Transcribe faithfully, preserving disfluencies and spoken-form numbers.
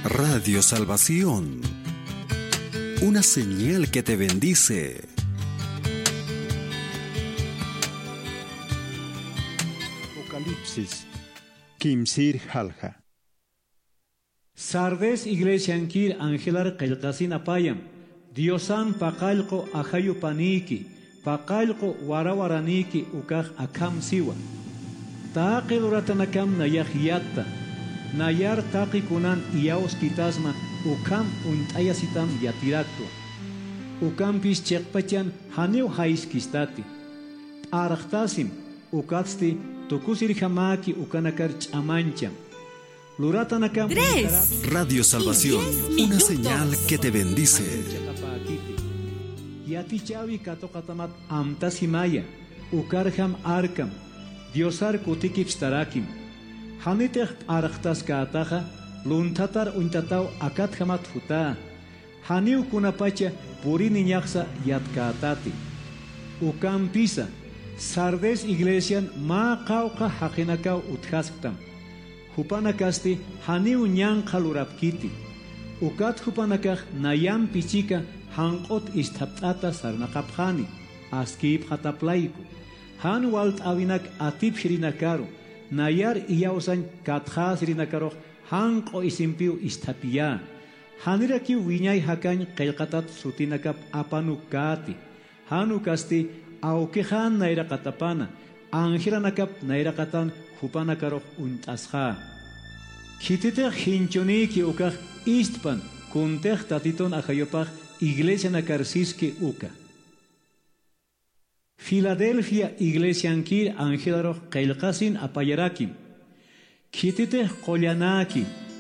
Radio Salvación, una señal que te bendice. Apocalipsis kimsir jalja. Sardis iglesiankir angelar qillqasin apayam, Diosan paqallqu ajayu panïki, paqallqu warawaranïki ukax akham siwa. Taqi luratanakam nayax yatta, nayar taqi kunan iyawskitasma ukham uñt'ayasitam yatiraktwa. Ukampis chiqpachan janiw jayskistati. P'arxtasim, ukatsti tukusirjamäki ukanakar ch'amañcham. Luratanakam Tres. Radio Salvación, una señal que te bendice. Yatichäwi katuqatamat amtasimaya, ukarjam arkam, Diosar kutikipstarakim. Janitix p'arxtaskätaxa, lunthatar uñtataw akatjamat jutä. Janiw kunapacha puriniñaxsa yatkätati. Ukampisa, Sardis iglesian mä qawqha jaqinakaw utjasktam. Jupanakasti janiw ñanqha lurapkiti. Ukat jupanakax nayampi chika janq'ut isthapt'ata sarnaqapxani, askïpxatap layku. Jan walt'äwinak atipjirinakaru, nayar iyawsañ katxäsirinakarux janq'u isimpiw isthapiyä. Janirakiw wiñay jakañ qillqatat sutinakap apanukkäti. Jan ukasti awkixan nayraqatapana, angelanakap nayraqatan jupanakarux uñt'asxä. Khititix jinchunïki ukax istpan, kuntix Tatitun ajayupax iglesianakar siski uka. Filadelfia iglesiankir angelarux qillqasin apayarakim. Khititix qullanäki,